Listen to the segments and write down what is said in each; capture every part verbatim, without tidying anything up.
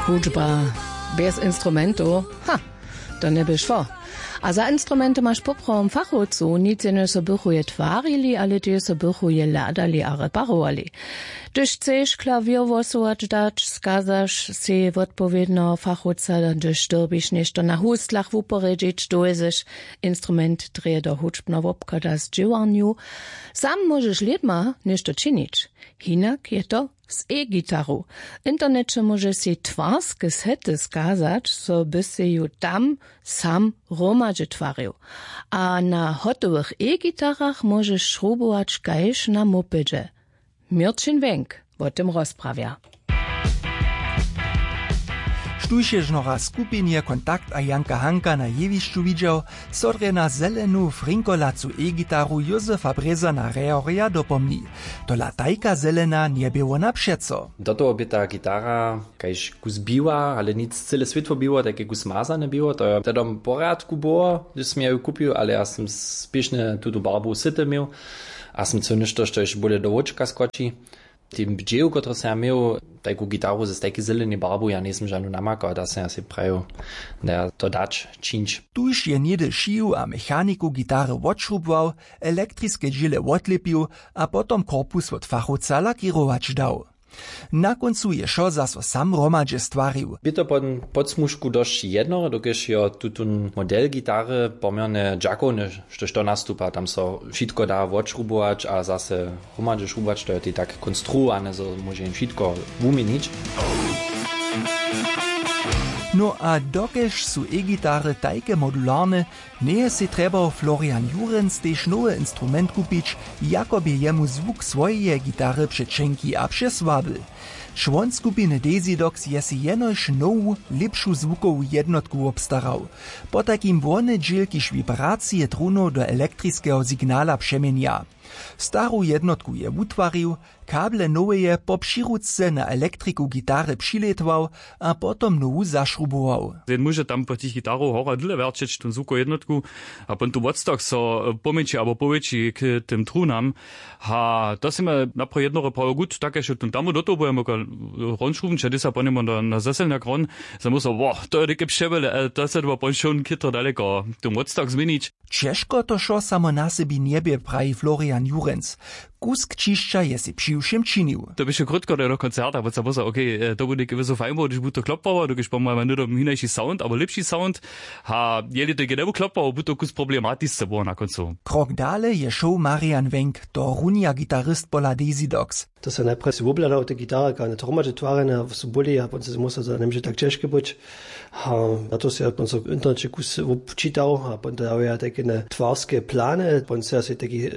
Hudźba bjez instrumentow, ha, to njeby šło. A za instrumenty maš poprawom fachowcow, nic jenož so bychu je twarili, ale tež so bychu je hladali a reparowali. Hdyž chceš klawěr hłosować dać, skazaš sej wotpowědneho fachowca, hdyž dyrbiš něšto na huslach wuporědźić, dowjezeš instrument drje do hudźbneho wobchoda z dźěłarnju. Sam móžeš lědma něšto činić. Hinak je to z e-gitaru. W interneće móžeš sej twarske sety skazać, zo by sej ju tam sam hromadźe twarił. A na hotowych e-gitarach móžeš šrubować kaž na mopedźe. Měrćin Wenk wo tym rozprawja. Štóž je žnoraz w skupinje Kontakt a Janka Hanka na jewišću widźał, so drje na zelenu frinkolacu e-gitaru Józefa Brězana Rehorja dopomni. Tola tajka zelena njebě wona přeco. Do toho bě ta gitara kaž kus biła, ale nic cyle swětło biło, tajke kus mazane biło, to je tedom w porjadku było, hdyž sym ja ju kupił, ale ja sym spěšnje tutu barbu syty měł a sym chcył něšto, štož bóle do wočka skoči. Tym dźělu, kotryž sym ja měł tajku gitaru z tajki zelenej barbu, ja njejsym žanu namakał, da sym ja sej prajił, da ja to dać čińć. Tuž je něhdy šiju a mechaniku gitary wotšrubował, elektriske dźěle wotlěpił a potom korpus wot fachowca lakěrować dał. Na kóncu je wšo zaso sam hromadźe stwarił. Bě to po podsmužku dosć jednoho, dokelž jo tutón model gitary poměrnje dźakowny, štož to nastupa, tam so wšitko da wotšrubować a zase hromadźe šrubować, to je tej tak konstruowane, zo móže jen wšitko wuměnić. No a dokelž su e-gitary tajke modularne, njeje sej trjebał Florian Jurenc tež nowy instrument kupić, jako bě jemu zwuk swojeje gitary přećenki a přesłaby. Čłon skupiny Desidox je sej jenož nowu, lěpšu zwukowu jednotku wobstarał. Potajkim wone dźěl, kiž wibracije trunow do elektriskeho signala přeměnja. Staru jednotku je wutwarił, kable noweje po přirutce na elektriku gitary přilětwał a potom nowu zašrubował. Jen móže tam po tych gitarow hora dyle wjerćeć tón zwukow jednotku a pon tu wotstach so, e, pomjeńši abo powětši k tym trunam. Ha, to smy napraw jednore prawo gut, tak je tón tam do toho budemo hronšruben, če dysa po něm na, na zaselnjak hron, za myslo, wo, to je dike přewjele, e, to se dwa ponšon chytro daleko tón wotstach změnić. Ćežko to wšo samo na sebi njebě, praji Florian Jurenc. Kusk ćišća je sej přiwšěm činił. To běše krótko do koncerta, bo se pozor, okay, e, to bu něke wězo fajn było, hdyž bu to klopwało, dokelž pomojemy hnydom hinaši sound abo lěpši sound. Ha, jeli to genemu klopwało, bu to kus problematisce było na kóncu. Krok dale je šoł Marian Wenk, to runja gitarist pola Desidox. To se najprjedy wobhladał te gitary, kak one hromadźe twarjene su byli, a pon se musel, to njemóže tak ćežke być. A na to se ja pon so w interneće kus wobčitał a pon to dał ja tajke ne twarske plany, pon se ja sej tajki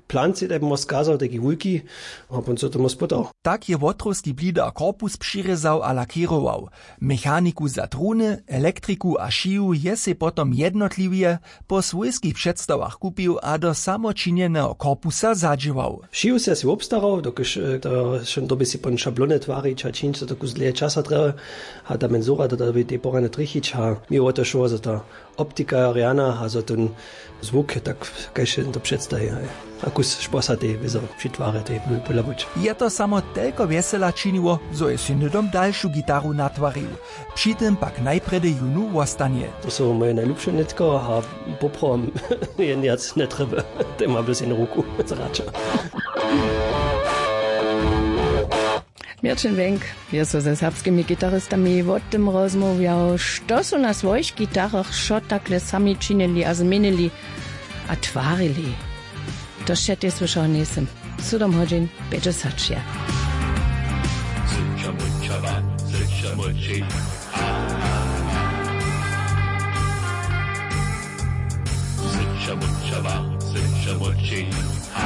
plancy, tak móhł skazał, taki wulki, a pon so tomu spytał. Tak je wotrowski blidar korpus přirězał a lakěrował. Mechaniku za truny, elektriku a šiju je sej potom jednotliwje po swójskich předstawach kupił a do samočinjeneho korpusa zadźěłał. Šiju se sej wobstarał, dokelž, e, to, to by sej pon šablony twarić a čińć, to kus dlěje časa trjebje. A ta menzura, to da by tej porane trjechić a mi wo to šło, zo ta optika rjana a zo ten zwuk, tak kaž je to předstaji, haj. A kus šposa tej wězo při twary tej by podla być. Je to samo telko wjesela činiło, zo je sej hnydom dalšu gitaru natwarił. Při tym pak najprjedy jónu wostanje. To su moje najlubše nětko a poprawom jen wjac njetrjeby. Tej ma bys jen ruku zraća. Měrćin Wenk je so ze serbskimi gitaristami wo tym rozmołwjał, što su na swojich gitarach wšo takle sami činili a změnili a twarili. To wšetej słyšał njejsym. Sydom hodźin pjećdźesać je.